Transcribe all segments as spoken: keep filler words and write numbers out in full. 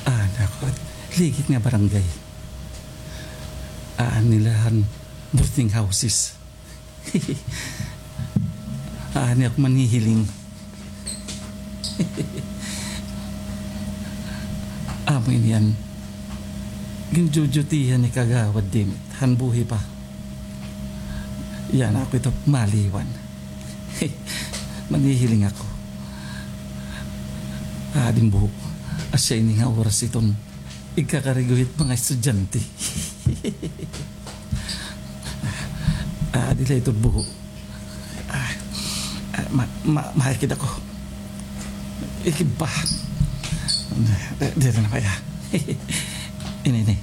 Ah, nako. Ligit nga barangay. Ah, nila han boarding houses. Ah, niya ako manhihiling. Amo ini an ginjujutihan ni Kagawad Dimit han buhi pa. Yana ako ito maliwan. Manhihiling ako. Adi buho, asya ini nga oras iton igkakarigo hit mga estudyante. Ah, diri la iton buho. Ah, ah, ma, ma, mahikid ako. Ikib pa. Di, diri na kaya. Ini, ini.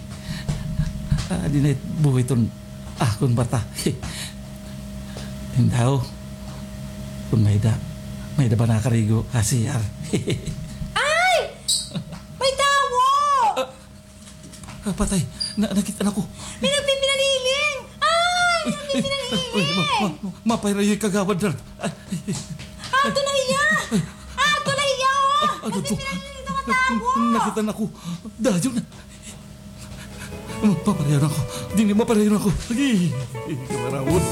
Ah, diri na it buho iton akon mata. Indaw. Kon may-ada, may-ada ba nakarigo ha C R? Ay! May tawo! Ah, patay. Na, nakit-an ako. May nagpipinanhiling! Ay! May nagpipinanhiling! Uy, ma, ma, ma, mapay ra hiya, Kagawad Ralph. Ay, ay, ay. Ato na hiya! Ato na hiya, oh! Ah, ano to? Nagpipinanhiling ito nga tawo! Nakit-an ako. Dayon na. Maparayon ako. Diri, maparayon ako. Agi, kamaraot.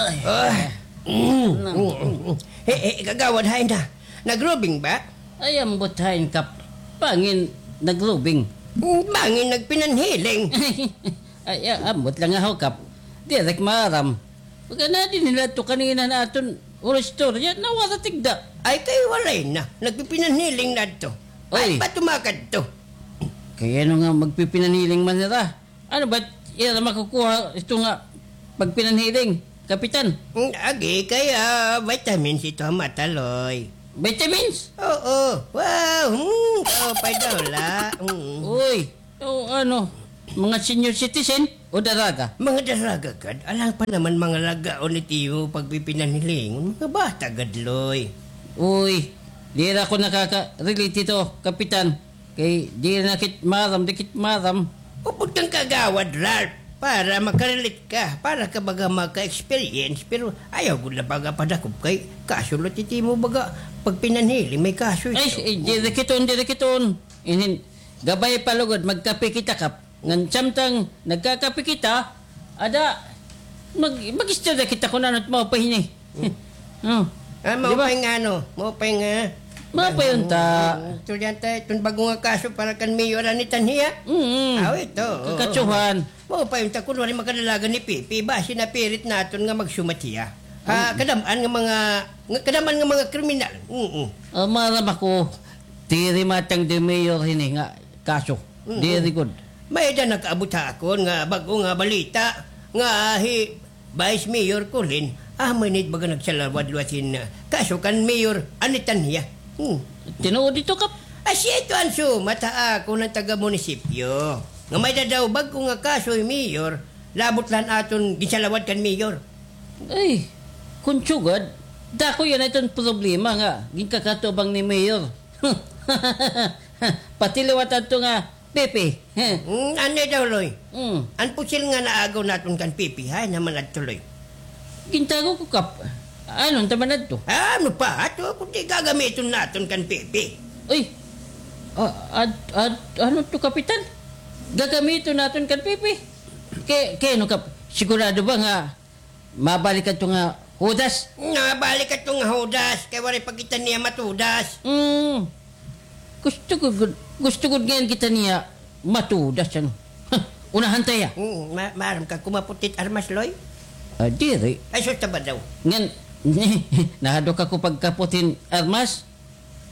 Ay. Ay. Hey, hey, Kagawad, hain na? Naglubing ba? Ay, ambot hain, Kap. Bangin naglubing. Bangin nagpinanhiling. Ay, ah, ambot la nga ho, Kap. Diri ak maaram. Baga na dinhi la ito kanina han aton oristorya, nawara tigda. Ay, kay walay na. Nagpipinanhiling na ito. Ay. Ay, ba tumakad ito? Kay ano nga magpipinanhiling man hira? Ano ba, ira makukuha ito nga pagpinanhiling, Kapitan? Mm, agi, kay, ah, vitamins ito ha mata, Loy. Vitamins? Oo. Wow, hmm, kaupay daw la. Mm. Uy, o ano, mga senior citizen o daraga? Mga daraga gad. Alang pa naman mga lagaon it iyo pagpipinanhilingon. Mga bata gad, Loy. Uy, diri ako nakaka-relate hito, Kapitan. Kay diri na kit maaram, di kit maaram. Upod kan Kagawad Ralph, para maka-relate ka, para ka baga maka-experience, pero ayaw gud la baga padakop kay kaso la it imo baga pagpinanhiling, may kaso ito. Ay, eh, diri kit on, diri kit on. Inin, gabay pa lugod, magkape kita, Kap. Ngan samtang nagkakape kita, ada, mag-, mag-istorya kita kon ano it maupay hini. Hmm. Oh. Ah, di ba? Maupay nga ano, maupay nga. Maupay unta. Hmm, estudyante, iton bag-o nga kaso para kan mayor an itan hiya. Mm. Aw, ito, oo. Kakasuhan. Maupay unta, kunwari makadalagan ni Pipi, basi napirit naton nga magsumat hiya. Ha, kadam-an nga mga, nga, kadam-an nga mga kriminal. Mm. Ah, maaram ako, diri matanggi mayor hini nga kaso. Mm. Diri gud. May-ada nakaabot ha akon nga bag-o nga balita nga hi Vice Mayor Colin, amo ini it baga nagsalawad liwat hin, ah, kaso kan Mayor an itan hiya. Hmm. Tinuod ito, Kap? Asya ito an sumat ha akon han taga-munisipyo. Nga may-ada daw bag-o nga kaso hi Mayor, labot la han aton ginsalawad kan Mayor. Ay, kon sugad, dako yana iton problema nga ginkakatubang ni Mayor. Pati liwat adto nga Pipi. Hmm, ano daw, Loy? Hmm. An pusil nga naagaw naton kan Pipi, hain naman adto, Loy? Gintago ko, Kap. Ano unta man adto? Ano pa? Ato, kundi gagamiton naton kan Pipi. Uy, ah, ad-, ad-, ano to, Kapitan? Gagamiton naton kan Pipi? Kay, kay ano, Kap? Sigurado ba nga mabalik adto nga Judas? Mabalik adto nga Judas, kay waray pa kita niya matudas. Mm. Gusto ko gud, gusto gud ngay-an kita niya matudas, ano. Unahan ta hiya. Mm, ma-, maaram ka kumapot hit armas, Loy? Ah, diri. Ay, sus, ta ba daw? Ngan, nahadlok ako pagkapot hin armas.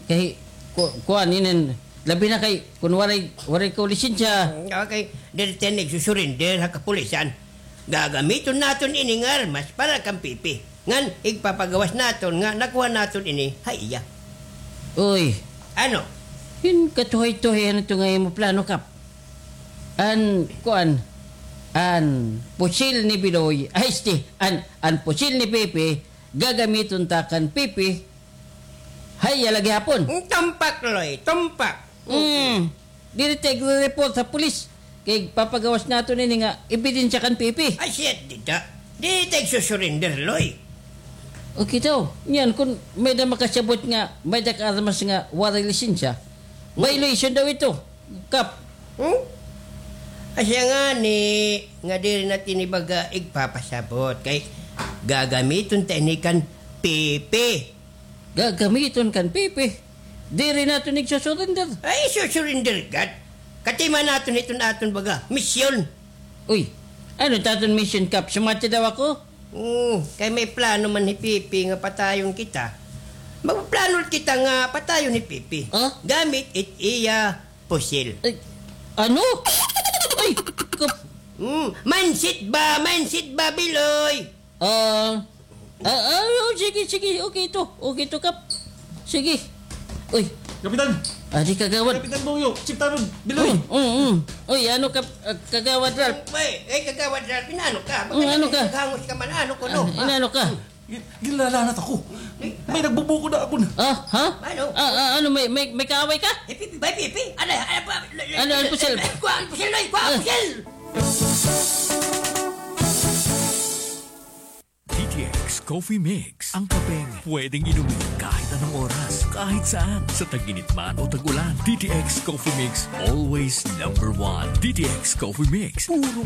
Kay, ku-, kuan, inin, labi na kay, kun waray, waray ko lisensya. Mm, okay. Diri ta ini igsusurrender ha kapulisan. Gagamiton naton ini nga armas para kan Pipi. Ngan igpapagawas naton nga nakuha naton ini ha iya. Uy. Ano? Hin katuhay-tuhay ano to nga imo plano, Kap? An, kuan, an pusil ni Biloy, ay, este, an, an pusil ni Pipi, gagamiton ta kan Pipi, ha iya la gihapon. Tumpak, Loy, tumpak. Mm. Diri ta igre-report ha pulis. Kay papagawas naton ini nga ebidensya kan Pipi. Ay, shit, dida. Di ta igsusurrender, Loy. Okay daw. Niyan, kun may-ada makasabot nga may-ada ka armas nga waray lisensya, violation daw ito, Kap. Hmm? Asya ngani nga diri naton ini baga igpapasabot kay gagamiton ta ini kan Pipi. Gagamiton kan Pipi? Diri naton igsusurrender. Ay, susurrender gad. Katima naton iton aton baga misyon. Uy, ano it aton misyon, Kap? Sumati daw ako? Hmm, kay may plano man hi Pipi nga patayon kita. Magplano kita nga patayon hi Pipi. Ah? Gamit it iya pusil. Ay, ano? Ay, Kap. Hmm, mindset ba? Mindset ba, Biloy? Ah, ah, ah, oh, sige, sige. Okay ito. Okay ito, Kap. Sige. Uy. Kapitan! Adi, Kagawad. Kapitan Bongyo, Chief Taron, Biloy. Mm, mm, mm. Uy, ano ka, ah, Kagawad Ralph? Uy, eh, Kagawad Ralph, inaano ka? Mm, ano ka? Naghangos ka man, ano ko, no? Ah, inaano ka? Gin-, ginlalanat ako. May nagbubukod ha akon. Ah, ha? Ano? Ah, ah, ano, may, may, may kaaway ka? Eh, Pipi, bay, Pipi. Ano, ano pa? Ano, ano, pusil? Eh, kuha, pusil, Loy, kuha, pusil! D T X Coffee Mix, ang kapeng pwedeng inumin kahit anong oras, kahit saan, sa tag-init man o tag-ulan. D T X Coffee Mix, always number one. D T X Coffee Mix, puro